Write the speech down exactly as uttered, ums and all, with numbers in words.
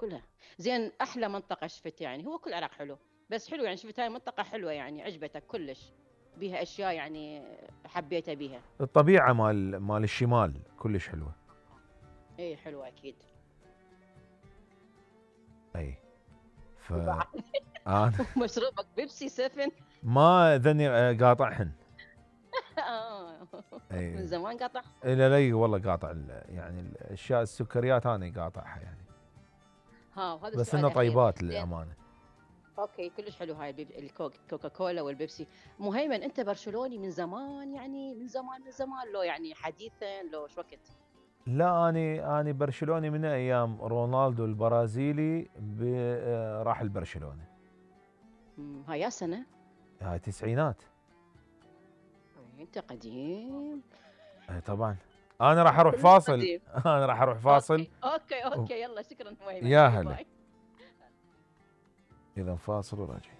كلها. زين احلى منطقه شفت يعني؟ هو كل العراق حلو، بس حلو يعني، شفت هاي منطقه حلوه يعني عجبتك كلش، بيها اشياء يعني حبيتها بيها؟ الطبيعه مال مال الشمال كلش حلوه. اي حلوه اكيد. اي ف بعد انا ومشروبك بيبسي سفن؟ ما ذني قاطعهن. آه. من اي زمان قطع. لا لا والله قاطع ال- يعني الاشياء السكريات انا قاطعها يعني، ها وهذا بس السؤال انه الاخير. طيبات زين للامانه. اوكي كلش حلو هاي البيب... الكوك كوكا كولا والبيبسي. مهيمن انت برشلوني من زمان يعني، من زمان من زمان لو يعني حديثا لو شو وقت؟ لا اني اني برشلوني من ايام رونالدو البرازيلي ب- آه، راح البرشلونه. مم، هاي يا سنه؟ هاي تسعينات. إيه، انت قديم. اي طبعا. انا راح اروح كلش فاصل قديم. انا راح اروح فاصل. اوكي اوكي اوكي يلا شكرا مهيمن، يا باي هلا. باي. اذا فاصل وراجع.